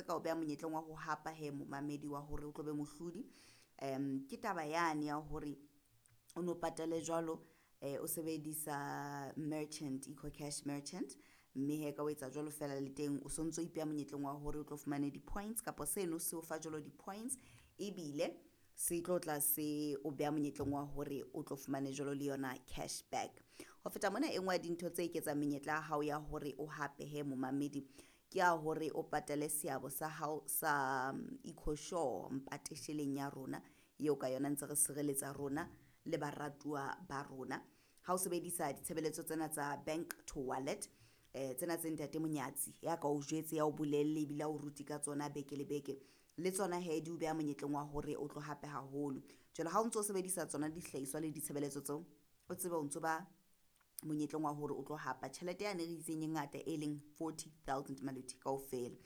ka o beha monyetleng wa ho hapa he momamedi wa hore o tlo be mohlodi ke taba yane ya hore o no patale jwalo o sebedisa merchant EcoCash merchant mme he ka o etsa jwalo fela le teng o sontso o ipeha monyetleng wa hore o tlo fumane di-points kapa seno se o fa jwalo di-points ebile se tlo tla se o beha monyetleng wa hore o tlo fumane jwalo le yona cash back. Ho feta mona e nngwe ya dintho tse eketsang menyetla ya hao ya hore o hape he momamedi ke ya hore o patale seabo sa hao sa EcoSure mpatesheleng ya rona eo ka yona ntse re sireletsa rona le baratuwa ba rona. Ha o sebedisa ditshebeletso tsena tsa bank to wallet tsena tse ntate Monyatsi ya ka o jwetse ya o bolelle ebile a o rute ka tsona beke le beke le tsona he di o beha monyetleng wa hore o tlo hape haholo. Jwale ha o ntso sebedisa tsona dihlahiswa le ditshebeletso tseo o tsebe o ntso ba monyetleng wa hore o tlo hapa tjhelete yane re itseng e ngata e leng 40 000 maluti kaofela.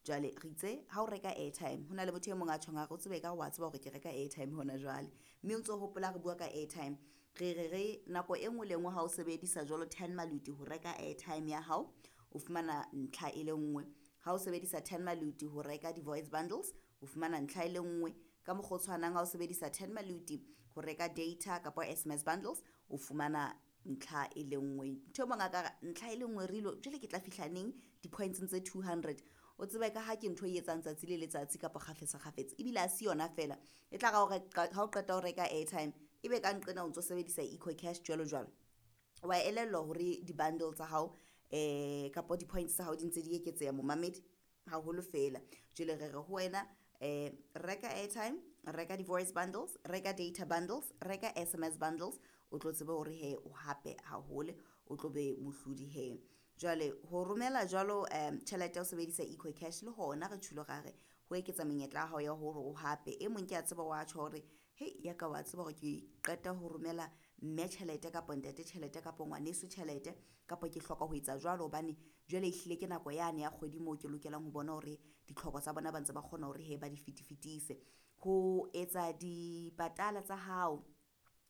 Jwale re itse ha o reka airtime ho na le motho e mong a tjhong a re o tsebe ka wa tseba hore ke reka airtime hona jwale mme o ntso hopola re bua ka airtime re re re nako e nngwe le nngwe ha o sebedisa jwalo 10 maluti ho reka airtime ya hao o fumana ntlha e le nngwe. Ha o sebedisa 10 maluti ho reka di-voice bundles o fumana ntlha e le nngwe. Ka mokgwa o tshwanang ha o sebedisa 10 maluti ho reka data kapa SMS bundles o fumana ntlha e le nngwe. Ntho e mong a ka re ntlha e le nngwe re ilo jwale ke tla fihla neng di-points tse 200 o tsebe ka ha ke ntho e etsang tsatsi le letsatsi kapa kgafetsa kgafetsa ebile ha se yona fela e tla ra ha o qeta ho reka airtime ebe ka nqena o ntso sebedisa EcoCash jwalo jwalo wa elellwa hore di-bundle tsa hao kapa di-points tsa hao di ntse di eketseha momamedi haholo fela. Jwale re re ho wena reka airtime, reka di-voice bundles, reka data bundles, reka SMS bundles o tlo tsebe hore he o hape haholo o tlo be mohlodi he. Jwale ho romela jwalo tjhelete ya ho sebedisa EcoCash le hona re tjholo ra re ho eketsa menyetla ya hao ya hore o hape. E mong ke a tseba wa tjho hore hei ya ka wa tseba hore ke qeta ho romela mme tjhelete kapa ntate tjhelete kapa ngwaneso tjhelete kapa ke hloka ho etsa jwalo hobane jwale ehlile ke nako yane ya kgwedi moo ke lokelang ho bona hore ditlhoko tsa bona ba ntse ba kgona hore he ba di fetifetise. Ho etsa dipatala tsa hao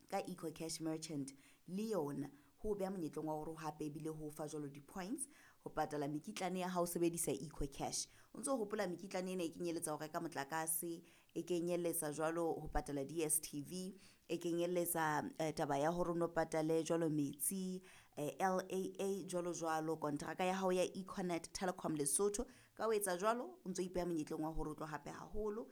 ka EcoCash merchant le yona ho beha monyetleng wa hore hape ebile ho fa jwalo di-points ho patala mekitlane ya hao sebedisa EcoCash. O ntso hopola mekitlane ena e kenyeletsa ho reka motlakase, e kenyeletsa jwalo ho patala DStv, e kenyeletsa taba ya hore o no patale jwalo metsi, LAA jwalo jwalo, kontraka ya hao ya Econet Telecom Lesotho. Ka ho etsa jwalo o ntso ipeha monyetleng wa hore o tlo hape haholo.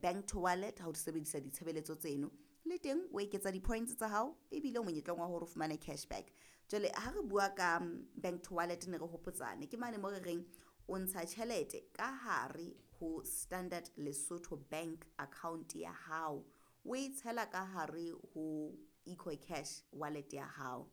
Bank to wallet ha o sebedisa ditshebeletso tseno le teng o eketsa di-points tsa hao ebile o monyetleng wa hore o fumane cashback. Jwale ha re bua ka bank to wallet ne re hopotsane ke mane mo re reng o ntsha tjhelete ka hare ho Standard Lesotho Bank account ya hao o e tshela ka hare ho EcoCash wallet ya hao.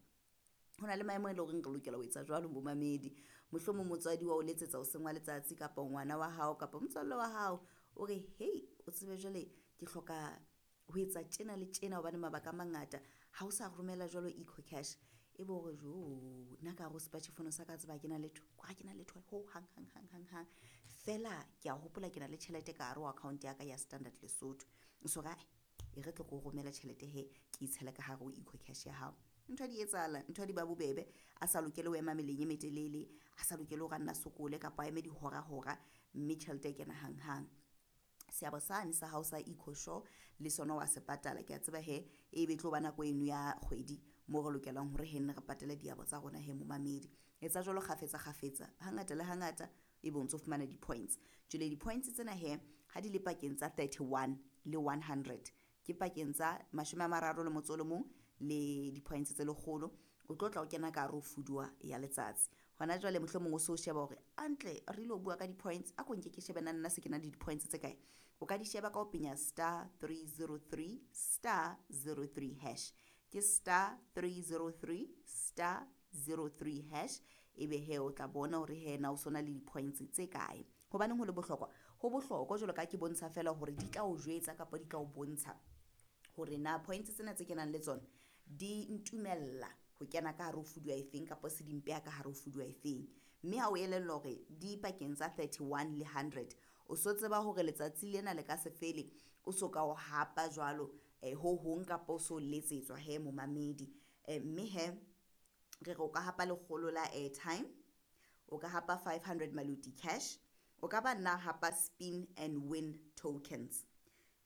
Ho na le maemo e leng hore re lokela ho etsa jwalo momamedi. Mohlomong motswadi wa o letsetsa hoseng wa letsatsi kapa ngwana wa hao kapa motswalle wa hao o re hei o tsebe jwale ke hloka ho etsa tjena le tjena hobane mabaka a mangata ha o sa romela jwalo EcoCash e be hore jo nna ka hare ho sepatjhe sa ka tseba ha ke na letho ha ke na letho ho hang hang hang hang hang fela ke a hopola ke na le tjhelete ka hare ho account ya ka ya Standard Lesotho. So ra e re tlo ko romela tjhelete he ke itshele ka hare ho EcoCash ya hao. Ntho di etsahala ntho di ba bobebe a sa lokele ho ema meleng e metelele a sa lokele hore a nna sokole kapa a eme dihora hora mme tjhelete e kena hang hang. Seabo sane sa hao sa EcoSure le sona wa se patala ke a tseba he e be tlo ba nako eno ya kgwedi moo re lokelang hore he nne re patale diabo tsa rona he momamedi. Etsa jwalo kgafetsa kgafetsa hangata le hangata ebe o ntso fumana di-points. Jwale di-points tsena he ha di le pakeng tsa 31 le 100 ke pakeng tsa 31 le di-points tse lekgolo o tlo tla o kena ka hare ho fuduwa ya letsatsi. Hona jwale mohlomong o so sheba hore antle re ilo bua ka di-points a ko nke ke shebe nna se ke na le di-points tse kae. O ka di sheba ka ho penya star 303 star 03 hash ke star 303 star 03 hash ebe he o tla bona hore he na o sona le di-points tse kae. Hobaneng ho le bohlokwa? Ho bohlokwa jwalo ka ke bontsha fela hore di tla o jwetsa kapa di tla o bontsha hore na points tsena tse kenang le tsona di ntumella ho kena ka hare ho fuduwa efeng kapa se di mpeha ka hare ho fuduwa efeng. Mme ha o elellwa hore di pakeng tsa 31 le 100 o so tseba hore letsatsi lena le ka se fele o so ka o hapa jwalo ho hong kapa o so letsetswa he momamedi. Mme he re re o ka hapa lekgolo la airtime, o ka hapa 500 maluti cash, O ka ba nna hapa spin and win tokens.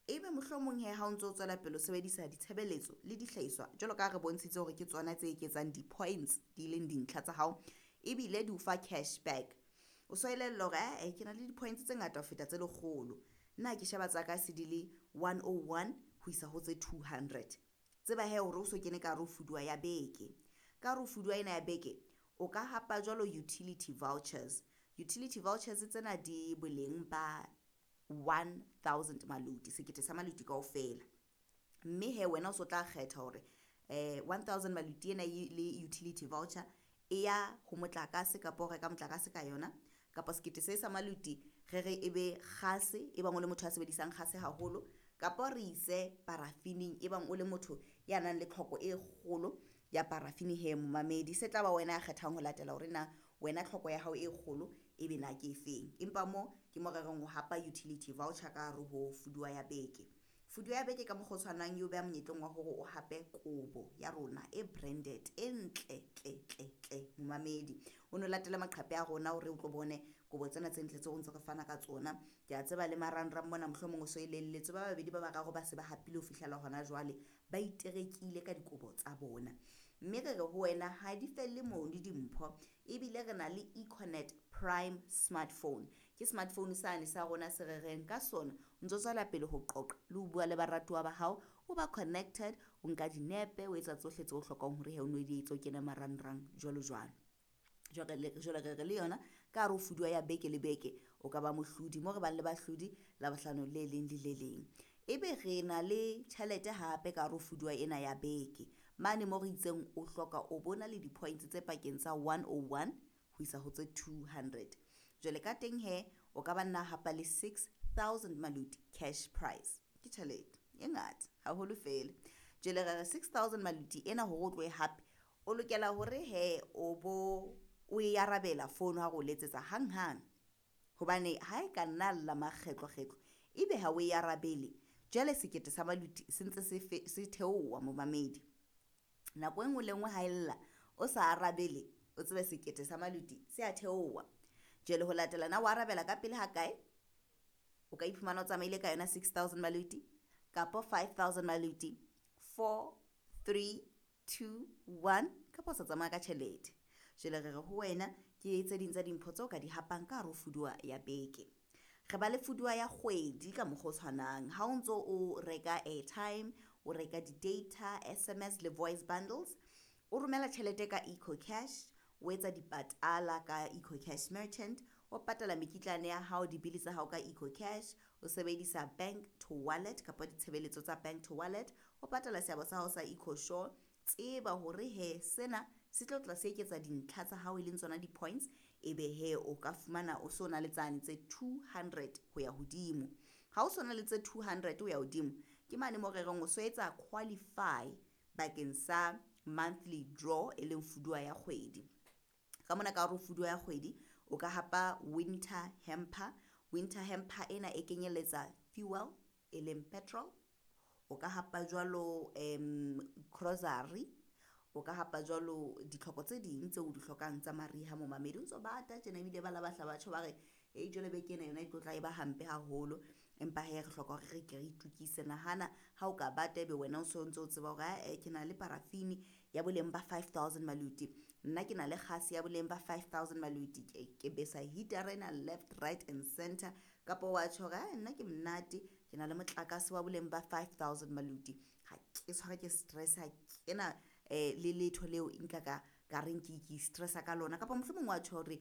Ebe mohlomong he ha o ntso tswela pele o sebedisa ditshebeletso le dihlahiswa jwalo ka ha re bontshitse hore ke tsona tse eketsang di-points di leng dintlha tsa hao ebile di o fa cash back. O so elellwa hore ae ke na le di-points tse ngata ho feta tse lekgolo, nna ke sheba tsa ka se di le 101 ho isa ho tse 200. Tseba hee hore o so kene ka hare ho fuduwa ya beke. Ka hare ho fuduwa ena ya beke o ka hapa jwalo utility vouchers. Utility vouchers tsena di boleng ba 1000 maluti, sekete sa maluti kaofela. Mme he wena o so tla kgetha hore 1000 maluti ena le utility voucher e ya ho motlakase kapa o reka motlakase ka yona, kapa sekete se sa maluti re re ebe kgase e bang o le motho a sebedisang kgase haholo, kapa re ise parafining e bang o le motho ya nang le tlhoko e kgolo ya parafini he momamedi. Se tla ba wena ya kgethang ho latela hore na wena tlhoko ya hao e kgolo ebe na ke efeng, empa mo ke mo re reng o hapa utility voucher ka hare ho fuduwa ya beke. Fuduwa ya beke ka mokgwa o tshwanang eo beha monyetleng wa hore o hape kobo ya rona e branded e ntle tle tle tle momamedi. O no latele maqhephe a rona hore o tlo bone kobo tsena tse ntle tseo ntse re fana ka tsona. Ke a tseba le marangrang mona mohlomong o so elelletswe ba babedi ba bararo ba se ba hapile ho fihlela hona jwale, ba iterekile ka dikobo tsa bona. Mme re re ho wena ha di felle mono dimpho, ebile re na le Econet Prime smartphone. Ke smartphone sane sa rona se re reng ka sona o ntso tswela pele ho qoqa le ho bua le baratuwa ba hao, o ba connected, o nka dinepe, o etsa tsohle tseo o hlokang hore he o no di etse o kene marangrang jwalo jwalo. Jwale re re le yona ka hare ho fuduwa ya beke le beke o ka ba mohlodi mo re bang le bahlodi Labohlano le leng le le leng. Ebe re na le tjhelete hape ka hare ho fuduwa ena ya beke mane mo re itseng o hloka o bona le di-points tse pakeng tsa 101 ho isa ho tse 200. Jwale ka teng he o ka ba nna hapa le 6000 maluti cash prize. Ke tjhelete e ngata haholo fela. Jwale re re 6000 maluti ena hore o tlohe hape o lokela hore he o bo o e arabela phone ha re o letsetsa hanghang, hobane ha e ka nna lla makgetlo-kgetlo ebe ha o e arabele jwale sekete sa maluti se ntse se theoha momamedi. Nako e nngwe le nngwe ha e lla o sa arabele o tsebe sekete sa maluti se a theoha. Jwale ho latela na o arabela ka pele ha kae, o ka iphumana o tsamaile ka yona 6000 maluti kapa 5000 maluti, 4 3 2 1 kapa o sa tsamaya ka tjhelete. Jwale re re ho wena ke tse ding tsa dimpho tseo ka di hapang ka hare ho fuduwa ya beke. Re ba le fuduwa ya kgwedi ka mokgwa o tshwanang. Ha o ntso o reka airtime, o reka di-data, SMS le voice bundles, o romela tjhelete ka EcoCash, o etsa dipatala ka EcoCash merchant, o patala mekitlane ya hao dibili tsa hao ka EcoCash, o sebedisa bank to wallet kapa ditshebeletso tsa bank to wallet, o patala seabo sa hao sa EcoSure. Tseba hore he sena se tlo tla se eketsa dintlha tsa hao e leng tsona di-points, ebe he o ka fumana o so na le tsane tse 200 ho ya hodimo. Ha o so na le tse 200 ho ya hodimo ke mane mo re reng o so etsa qualify bakeng sa monthly draw e leng fuduwa ya kgwedi. Ka mona ka hare ho fuduwa ya kgwedi o ka hapa winter hamper. Winter hamper ena e kenyeletsa fuel e leng petrol, o ka hapa jwalo grocery, o ka hapa jwalo ditlhoko tse ding tseo o di hlokang tsa mariha momamedi. O ntso bata tjena ebile ba la bahla batjho ba re e jwale beke ena yona e tlotla e ba hampe haholo, empa he re hloka hore re ke re itukise. Nahana ha o ka bata ebe wena o so ntso o tseba hore ae ke na le parafini ya boleng ba 5000 maluti, nna ke na le kgase ya boleng ba 5000 maluti, ke besa heater ena left right and center, kapa wa tjho hore ae nna ke monate ke na le motlakase wa boleng ba 5000 maluti, ha ke tshware ke stress, ha ke na le letho leo nka ka reng ke stressa ka lona, kapa mohlomong wa tjho hore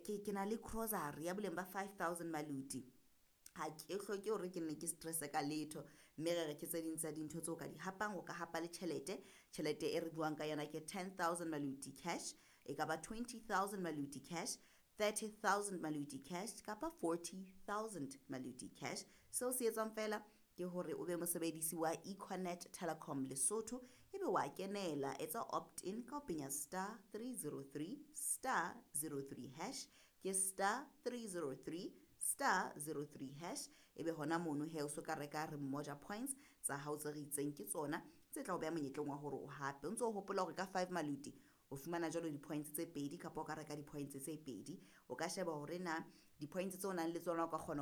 ke na le grocery ya boleng ba 5000 maluti, ha ke hloke hore ke nne ke stresse ka letho. Mme re re ke tse ding tsa dintho tseo ka di hapang. O ka hapa le tjhelete, tjhelete e re buang ka yona ke 10000 maluti cash, e ka ba 20000 maluti cash, 30000 maluti cash kapa 40000 maluti cash. Seo se etswang fela ke hore o be mosebedisi wa Econet Telecom Lesotho, ebe wa kenela, etsa opt-in ka ho penya star 303 star 03 hash, ke star 303 star 03 hash, ebe hona mono he o so ka reka re mmoja points tsa hao tse re itseng ke tsona tse tla o beha monyetleng wa hore o hape. O ntso o hopola hore ka 5 maluti o O fumana jwalo di-points tse pedi, kapa o ka reka di-points tse pedi. O ka sheba hore na di-points tseo o nang le tsona o ka kgona ho